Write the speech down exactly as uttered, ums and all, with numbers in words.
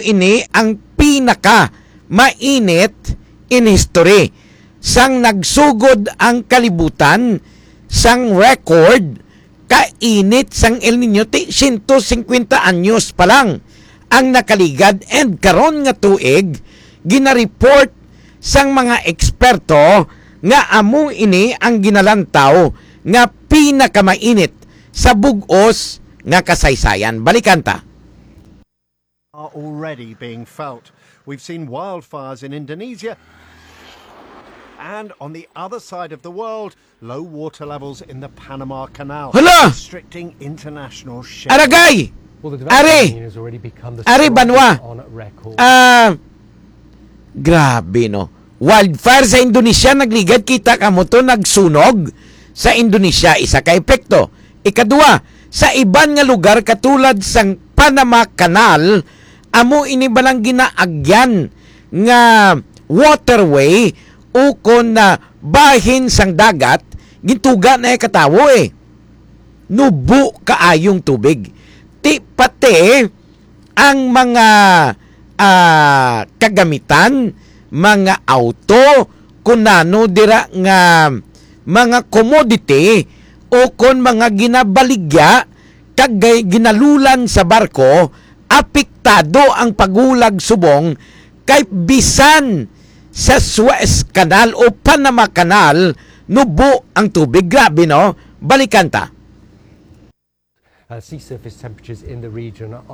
ini ang pinaka mainit in history. Sang nagsugod ang kalibutan sang record ka init sang El Nino, ti siyento singkwenta anyos pa lang ang nakaligad, and karon nga tuig, ginareport sang mga eksperto nga amo ini ang ginalantaw nga pinakamainit sa bug-os nga kasaysayan. Balikan ta. Are already being felt. We've seen wildfires in Indonesia. And on the other side of the world, low water levels in the Panama Canal, Hala! Restricting international shipping. Aragay! Well, the Are! development has already become the Are, strongest Banwa! On record. Ah, grabe, no? Wildfire sa Indonesia nagligad, kita kamo to, nagsunog sa Indonesia, isa ka epekto. Ikadua, sa iban nga lugar katulad sang Panama Canal, amo ini balang ginaagyan nga waterway ukon na bahin sang dagat, gintuga na ka tawo, eh. Nubo kaayong tubig. Ti pati ang mga, ah, kagamitan, mga auto, kun ano dira nga mga commodity o kon mga ginabaligya kag gay-, ginalulan sa barko, apektado ang paghulag subong kay bisan sa Suez Canal o Panama Canal nubo ang tubig. Grabe, no? Balikan ta. Uh, sea surface temperatures in the region